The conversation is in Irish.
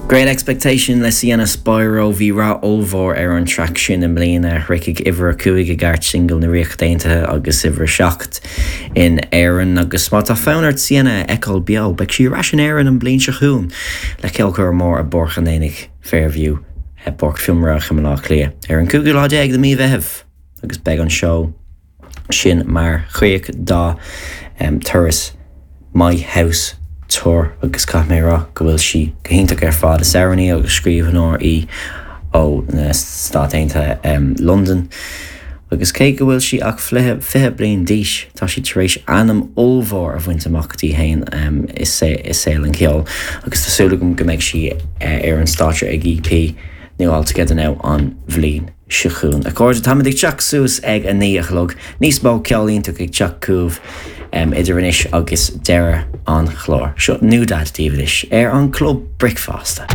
Great Expectation le Sienna Spiro. Bhí rath ollmhór ar an traic sin i mbliana, shroich uimhir a 5 i gcairt singil na Ríochta Aontaithe agus uimhir a 7 in Éirinn. Agus má tá fonn ort Sienna a fheiceáil beo, beidh sí ar ais in Éirinn an bhliain seo chugainn le ceolchoirm mór i bPáirc an Aonaigh, Fairview, i bPáirc Fionnmharach i mBaile Átha Cliath ar an 15ú lá de mhí Mheithimh agus beidh an seó sin mar chríoch dá turas My House Tour agus caithfidh mé a rá go bhfuil sí go hiontach ar fad. Is amhránaí agus scríbhneoir í ó na Stáit Aontaithe, Londain, agus cé go bhfuil sí ach 20 bliain d'aois, tá sí tar éis ainm ollmhór a bhaint amach di féin i saol an cheoil agus tá súil agam go mbeidh sí ar an stáitse ag EP nua All Together Now an bhliain seo chugainn. A chairde, táimid ag teacht suas ag 9 a chlog. Níos mó ceol iontach ag teacht chugaibh idir anois agus deireadh an chláir. Seo NewDad daoibh anois ar an Club Bricfeasta.